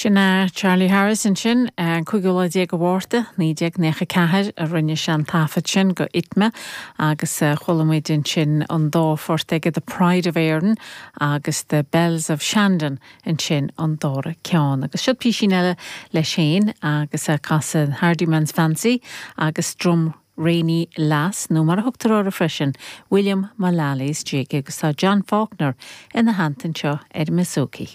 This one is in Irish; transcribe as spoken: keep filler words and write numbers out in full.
Sin é Charlie Harris ansin an cúigiú lá déag de Mhárta naoi déag nócha ceathair a rinne sé an taifead sin go ITMA agus chuala muid ansin an dá phort aige The Pride of Erin agus The Bells of Shandon ansin an dara ceann. Agus seo písín eile leis féin agus casadh Hardyman's Fancy agus Drumraney Lass nó mar a thugtar air freisin William Mullally's Jig agus tá John Faulkner ina theannta anseo ar an mbouzouki.